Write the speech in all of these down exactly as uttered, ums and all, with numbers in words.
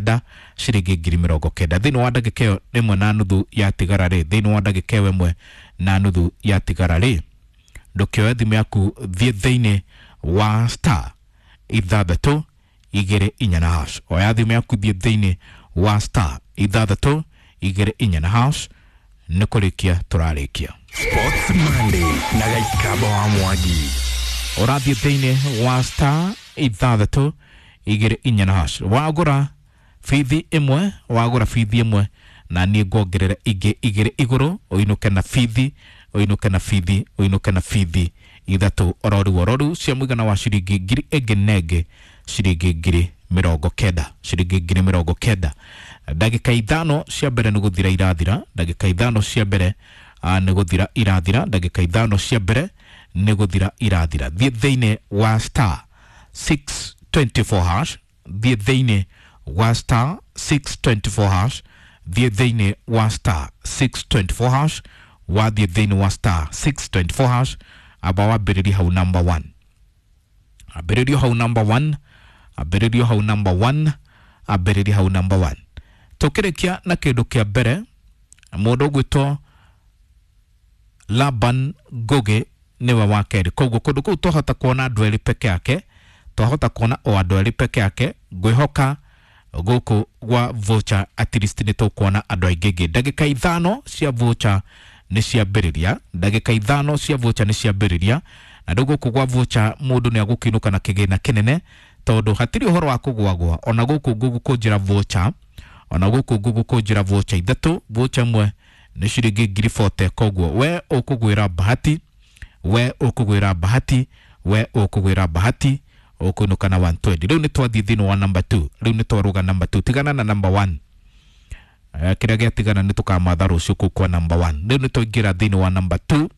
kenda, ciringi ngiri mĩrongo kenda. Thĩinĩ wa ndagĩka ĩyo ĩmwe na nuthu yatigara rĩ, thĩinĩ wa ndagĩka ĩyo ĩmwe na nuthu yatigara rĩ, ndũkĩoe thimũ yaku, thiĩ thĩinĩ wa star ithathatũ igĩrĩ inya na hash. Oya thimũ yaku, thiĩ thĩinĩ wa star ithathatũ igĩrĩ inya na hash. Nĩ kũrĩkia tũrarĩkia. Sports Monday na Gaikaba wa Mwangi. Ũrathiĩ thĩinĩ wa star ithathatũ igĩrĩ inya na hash, wagũra bithi ĩmwe, wagũra bithi ĩmwe na niĩ nguongerera ingĩ igĩrĩ igũrũ, ũinũke na bithi, ũinũke na bithi, ũinũke na bithi ithatũ ororu ororu cia mũigana wa ciringi ngiri ĩngĩ na ĩngĩ, ciringi ngiri mĩrongo kenda, ciringi ngiri mĩrongo kenda. Ndagĩka ithano cia mbere nĩ gũthira irathira, ndagĩka ithano cia mbere ah, nĩ gũthira irathira, ndagĩka ithano cia mbere nĩ gũthira irathira. Thiĩ thĩinĩ wa star six twenty-four hash, thiĩ thĩinĩ wa star six twenty-four hash, thiĩ thĩinĩ wa star six twenty-four hash. Wathiĩ thĩinĩ wa star six twenty-four hash, amba wambĩrĩrie hau number one, ambĩrĩrio hau number one, ambĩrĩrio hau number one, ambĩrĩrie hau number one. Tũkĩrĩkia na kĩndũ kĩa mbere, mũndũ ũgwĩtwo Laban Ngugi nĩwe wa kerĩ. Koguo kũndũ kũu twahota kuona andũ erĩ peke yake, twahota kuona o andũ erĩ peke yake. Ngwĩhoka gũkũ gwa voucher at least nĩ tũkuona andũ aingĩ ingĩ. Ndagĩka ithano cia voucher nĩ ciambĩrĩria, ndagĩka ithano cia voucher nĩ ciambĩrĩria. Na rĩu gũkũ gwa voucher mũndũ nĩ agũkĩinũka na kĩgĩna kĩnene, tondũ hatirĩ ũhoro wa kũgwagwa. Ona gũkũ ngũgũkũnjĩra voucher, ona gũkũ ngũgũkũnjĩra voucher ithatũ, voucher ĩmwe nĩ ciringi ngiri mĩrongo ĩna. Koguo we ũkũgwĩra bahati, we ũkũgwĩra bahati, we ũkũgwĩra bahati, ũkũinũka na one twenty. Rĩu nĩ twathiĩ thĩinĩ wa number two, rĩu nĩ twarũga number two. Tigana na number one, eh, kĩrĩa gĩatigana nĩ tũkamatha rũciũ kũu kwa number one. Rĩu nĩ twaingĩra thĩinĩ wa number two.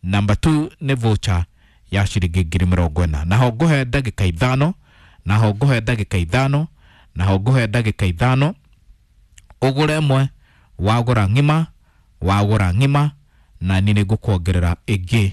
Number two nĩ voucher ya ciringi ngiri mĩrongo ĩna. Naho ngũhe ndagĩka ithano, naho ngũhe ndagĩka ithano, naho ngũhe ndagĩka ithano ũgũre ĩmwe. Wagũra ng'ima, wagũra ng'ima na niĩ nĩ ngũkuongerera ĩngĩ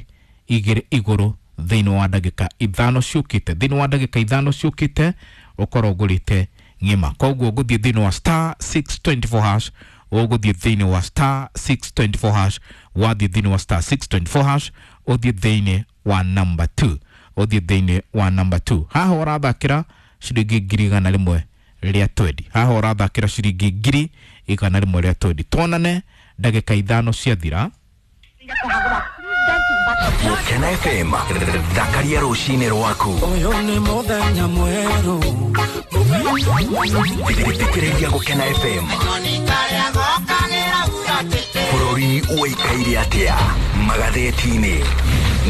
igĩrĩ igũrũ thĩinĩ wa ndagĩka ithano ciũkĩte. Thĩinĩ wa ndagĩka ithano ciũkĩte ũkorwo ũgũrĩte ng'ima. Koguo ũgũthiĩ thĩinĩ wa star six twenty-four hash, ũgũthiĩ thĩinĩ wa star six twenty-four hash. Wathiĩ thĩinĩ wa star six twenty-four hash, ũthiĩ thĩinĩ wa number two, ũthiĩ thĩinĩ wa number two. Haha ũrathakĩra ciringi ngiri igana rĩmwe rĩa twendi, haha ũrathakĩra ciringi ngiri igana rĩmwe rĩa twendi. Tuonane ndagĩka ithano ciathira. Gukena F M, thakaria rũcinĩ rwaku. Ũyũ nĩ mũthenya mwerũ. Thikĩrĩria Gũkena F M. Bũrũri ũikaire atĩa magathĩti-inĩ?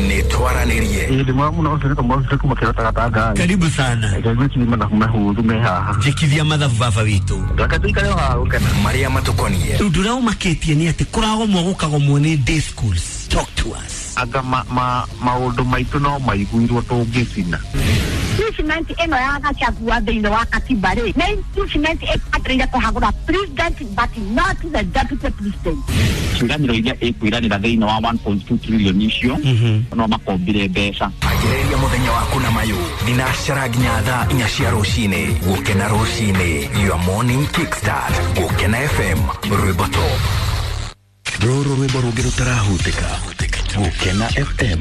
Nĩ twaranĩrie. Ĩĩ, ndĩ mwega mũno. Ũcio nĩ Kamau kuma Kĩrota Gatanga. Karibu sana. Ngwĩciria mathabu mahũthũ me haha. Njĩkithia mathabu, baba witũ. Reke tũikare o haha gũkena. Marĩa matũkonie. Rĩu ndũrĩa ũmakĩtie nĩ atĩ kũragomwo gũkagomwo nĩ day schools. Talk to us. Anga ma, ma, maũndũ maitũ no maiguirwo tũngĩcina. Impeachment ĩno ya Gachagua thĩinĩ wa katiba rĩ, nĩ impeachment ĩbataire kũhagũra president but not the deputy president. Ciĩranĩro iria ĩkwĩranĩra thĩinĩ wa one point two trillion icio no makombire mbeca. Anjĩrĩria mũthenya waku na mayũ thinacara nginya thaa inya cia rũcinĩ. Gũkena rũcinĩ, your morning kickstart. Gũkena F M, rwĩmbo top. Rũrũ rwĩmbo rũngĩ rũtarahutĩka. Gũkena F M.